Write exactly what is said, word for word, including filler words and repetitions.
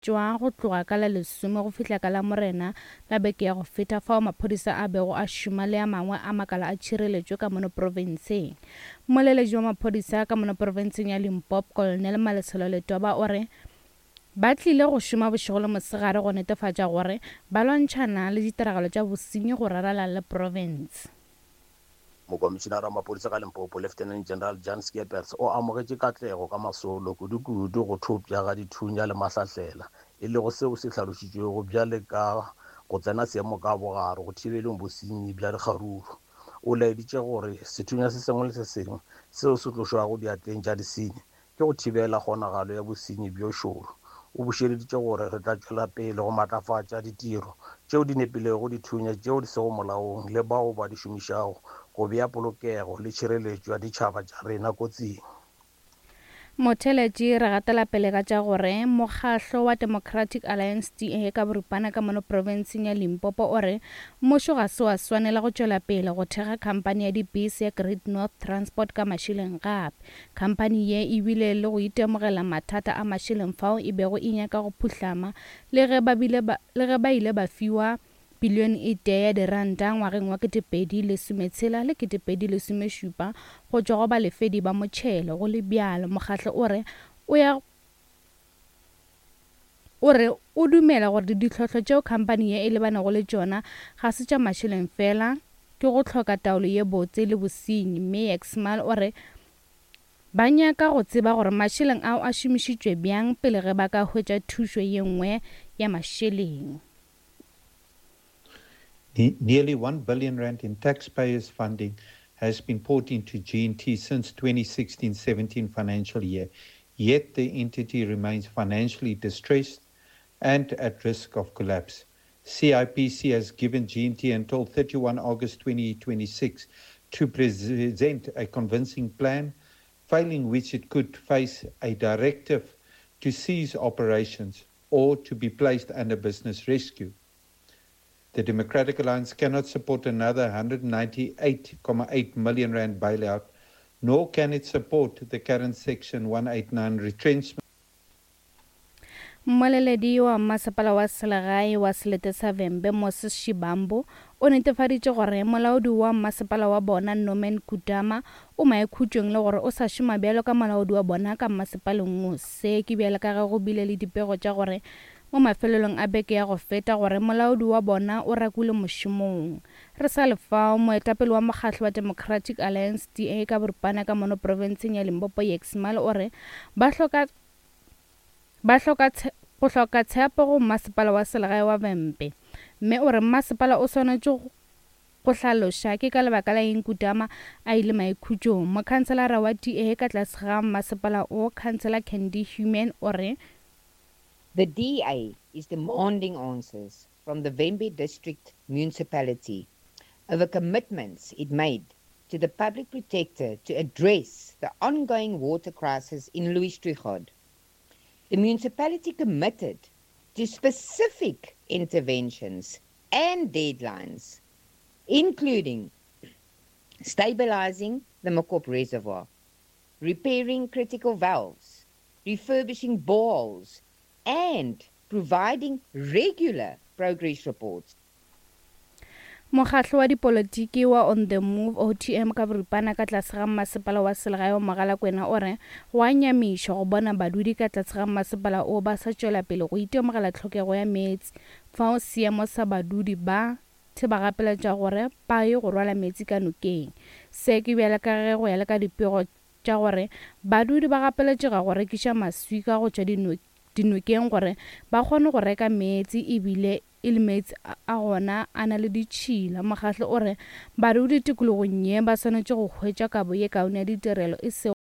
Tšwa go tloga ka la lesome go fihla ka Lamorena la beke ya go feta fao maphodisa a bego a šoma le a mangwe a makala a tšhireletšo ka mono profenseng. Mmoleletši wa maphodisa ka mono profenseng ya Limpopo, Colonel Malesela Letwaba o re ba tlile go šoma bošego le mosegare go netefatša gore ba lwantšhana le ditiragalo tša bosenyi go rarala le profense. Mokomišinara wa maphodisa ka Limpopo, Lieutenant General Jan Scheepers o amogetše katlego ka masolo, kudukudu go thopša ga dithunya le mahlahlela, e lego seo se hlalošitšwego bjale ka go tsena seemo ka bogare go thibeleng bosenyi bja dikgaruru. O laeditše gore sethunya se sengwe le se sengwe seo se tlošwago diatleng tša disenyi ke go thibela kgonagalo ya bosenyi bjo šoro. O bušeleditše gore re tla tšwela pele go matlafatša ditiro tšeo di nepilego dithunya tšeo di sego molaong le bao ba di šomišago go bea polokego le tšhireletšo ya ditšhaba tša rena kotsing. Motheeletši re gatela pele ka tša gore mokgahlo wa Democratic Alliance D A ka boripana ka mono profenseng ya Limpopo o re mmušo ga se wa swanela go tšwela pele go thekga khamphani ya dibese ya Great North Transport ka mašeleng gape. Khamphani ye e bile le go itemogela mathata a mašeleng fao e bego e nyaka go phuhlama le ge ba bile ba, le ge ba ile ba fiwa bilione e tee ya diranta ngwageng wa ketepedi lesometshela le ketepedi lesomešupa go tšwa go balefedi ba motšhelo. Go le bjalo, mokgahlo o re o ya o re o dumela gore ditlhohlo tšeo khamphani ye e lebanego le tšona ga se tša mašeleng fela, ke go hloka taolo ye botse le bosenyi. Mme Exmal o re ba nyaka go tseba gore mašeleng ao a šomišitšwe bjang pele ge ba ka hwetša thušo ye nngwe ya mašeleng. Nearly one billion rand in taxpayers' funding has been poured into G N T since twenty sixteen seventeen financial year, yet the entity remains financially distressed and at risk of collapse. C I P C has given G N T until thirty-one August twenty twenty-six to present a convincing plan, failing which it could face a directive to cease operations or to be placed under business rescue. The Democratic Alliance cannot support another hundred ninety-eight point eight million rand bailout, nor can it support the current Section one eight nine retrenchment. Mmoleledi wa masepala wa selegae wa Selete sa Vhembe, Moses Shibambo, o netefaditše gore molaodi wa masepala wa bona Norman Kutama o maikhutšong le gore o sa šoma bjalo ka molaodi wa bona ka masepaleng wo. Se ke bjalo ka ge go bile le dipego tša gore mo mafelelong a beke ya go feta gore molaodi wa bona o rakilwe mošomong. Re sa le fao, moetapele wa mokgatlo wa Democratic Alliance D A ka boripana ka mono profenseng ya Limpopo, Jakes Male, o re ba hloka, ba hloka tshe-, go hloka tshepo go masepala wa selegae wa Vhembe, mme o re masepala o swanetše go, go hlaloša ke ka lebaka la eng Kutama a ile maikhutšong. Mokhanselara wa D A ka tlase ga masepala o, Councillor Candy Human, o re The D A is demanding answers from the Vhembe District Municipality over commitments it made to the Public Protector to address the ongoing water crisis in Louis Trichardt. The municipality committed to specific interventions and deadlines, including stabilizing the Mokop Reservoir, repairing critical valves, refurbishing boreholes, and providing regular progress reports. Mokgatlo wa dipolotiki wa On The Move O T M ka boripana ka tlase ga masepala wa selegae wa Mogalakwena o re go a nyamiša go bona badudi ka tlase ga masepala o ba sa tšwela pele go itemogela tlhokego ya meetse, fao seemo sa badudi ba se ba gapeletša gore ba ye go rwala meetse ka nokeng. Se ke bjale ka ge go ya le ka dipego tša gore badudi ba gapeletšega go rekiša maswika go tšwa dino-, dinokeng gore ba kgone go reka meetse, ebile e le meetse a, a gona a na le ditšhila. Mokgatlo o re badudi tikologong ye ba swanetše go hwetša kabo ye kaone ya ditirelo, e sego